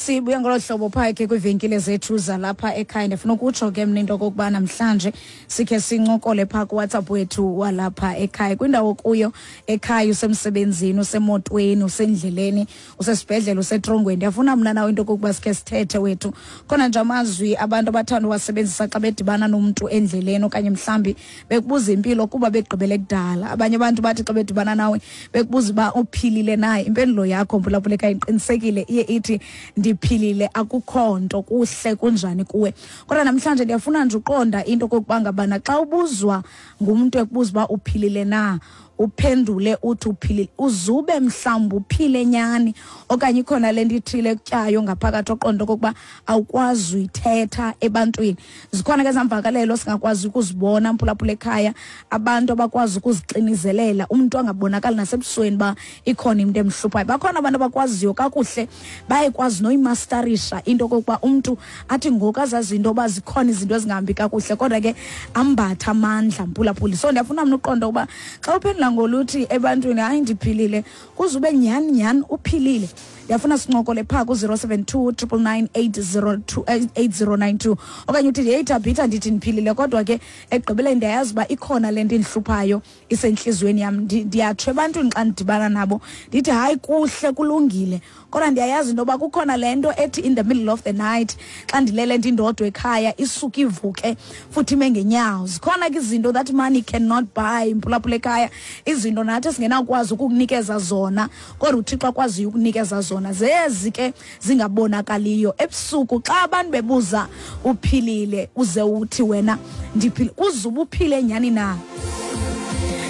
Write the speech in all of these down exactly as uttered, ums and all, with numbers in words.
Sibuya ngolo hlobo phaa ke kwiivenkile zethu zalapha ekhaya. Ndifuna ukutsho ke mna into okokuba namhlanje sikhe sincokole phaa kuWhatsApp wethu walapha ekhaya. Kwindawo kuyo ekhaya, usemsebenzini, usemotweni, usendleleni, usesibhedlele, usetrongweni, ndiyafuna mna nawe into okokuba sikhe sithethe wethu. Khona nje amazwi abantu abathanda uwasebenzisa xa bedibana nomntu endleleni okanye mhlawumbi bekubuza impilo kuba begqibele kudala. Abanye abantu bathi xa bedibana nawe bekubuza uba uphilile na, impendulo yakho mphulaphula ekhaya iqinisekile iye ithi ndiphilile, akukho nto, kuhle, kunjani kuwe. Kodwa namhlanje ndiyafuna nje uqonda into okokuba ngabana xa ubuzwa ngumntu ekubuza uba uphilile na, uphendule uthi uphilile, uzube mhlawumbi uphile nyani okanye ikhona le nto ithile ekutyayo ngaphakathi oqonda okokuba awukwazi uyithetha ebantwini. Zikhona ke ezamvakalelo singakwazi ukuzibona mphulaphula ekhaya, abantu abakwazi ukuzixinizelela, umntu angabonakali nasebusweni uba ikhona into emhluphayo. Bakhona abantu abakwaziyo kakuhle, bayekwazi noyimastarisha into okokuba umntu athi ngoku azazi into yoba zikhona izinto ezingahambi kakuhle, kodwa ke ambathe amandla mphulaphuli. So ndiyafuna mna uqonda ukuba xa uphendula ngoluthi ebantwini hayi ndiphilile, kuze ube nyhani nyhani uphilile. Ndiyafuna sincokole phaa ku-zero seven two triple nine eight zero two, eight zero nine two, okanye uthi heyi Thabitha ndithi ndiphilile, kodwa ke ekugqibeleni ndiyayazi uba ikhona le nto indihluphayo isentliziyweni yam. Ndiyatsho ebantwini xa ndidibana nabo ndithi hayi kuhle kulungile, kodwa ndiyayazi into yoba kukhona le nto ethi in the middle of the night xa ndilele ndindodwa ekhaya isuke ivuke futhi ime ngenyawo. Zikhona ke izinto that money cannot buy mphulaphula ekhaya, izinto nathi esingenawukwazi ukukunikeza zona kodwa uThixo akwaziyo ukunikeza zona, zezi ke zingabonakaliyo. Ebusuku xa abantu bebuza uphilile, uze uthi wena ndiphile, uze uphile nyhani na?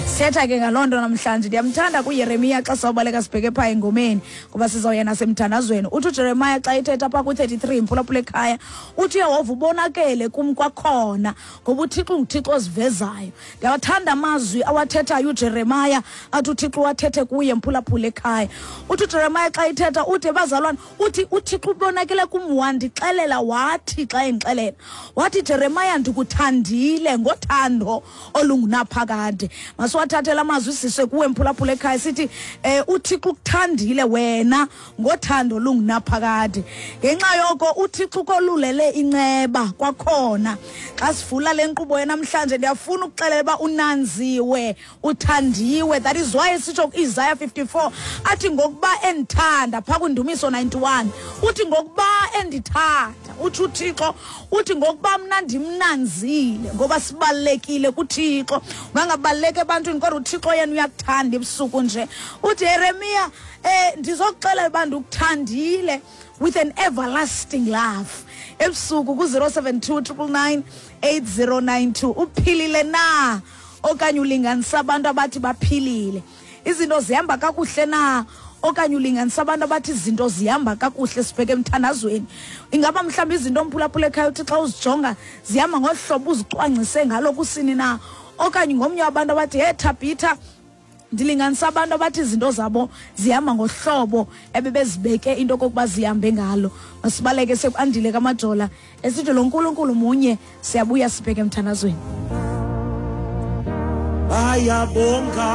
Sithetha ke ngaloo nto namhlanje. Ndiyamthanda kuYeremiya xa sawubaleka sibheke phaa engomeni ngoba sizawuya nasemthandazweni. Uthi uJeremiya xa ethetha phaa ku-thirty-three mphulaphula ekhaya, uthi uYehova ubonakele kum kwakhona, ngoba uThixo unguThixo ozivezayo. Ndiyawathanda amazwi awathethayo uJeremiya, athi uThixo uwathethe kuye mphulaphula ekhaya. Uthi uJeremiya xa ethetha uthi bazalwane, uthi uThixo ubonakele kum wandixelela, wathi xa endixelela wathi Jeremiya ndikuthandile ngothando olungunaphakade. Masiwathathele amazwi siswe kuwe mphulaphula ekhaya sithi eh uThixo ukuthandile wena ngothando olungunaphakade. Ngenxa yoko uThixo ukolulele inceba kwakhona. Xa sivula le nkqubo namhlanje ndiyafuna ukuxelela uba unanziwe, uthandiwe. That is why sitsho ku-Isaiah fifty-four athi ngokuba endithanda, phaa kwindumiso ninety-one uthi ngokuba endithanda, uthi uThixo uthi ngokuba mna ndimnanzile, ngoba sibalulekile kuThixo. Ungangabaluleki ebantwini kodwa uThixo yena uyakuthanda ebusuku nje. Uthi Yeremiya eh ndizokuxelela uba ndikuthandile with an everlasting love. Ebusuku ku-zero seven two triple nine eight zero nine two. Uphilile na okanye ulinganisa abantu abathi baphilile? Izinto zihamba kakuhle na okanye ulinganisa abantu abathi izinto zihamba kakuhle? Sibheke emthandazweni. Ingaba mhlawumbi izinto omphulaphula ekhaya uthi xa uzijonga zihamba ngohlobo uzicwangcise ngalo kusini na, okanye ngomnye wabantu abathi hey Thabitha ndilinganisa abantu abathi izinto zabo zihamba ngohlobo ebebezibeke into okokuba zihambe ngalo. Masibaleke sekuandile kaMajola esithi lo nkulunkulu munye. Siyabuya sibheke emthandazweni. Bayabonga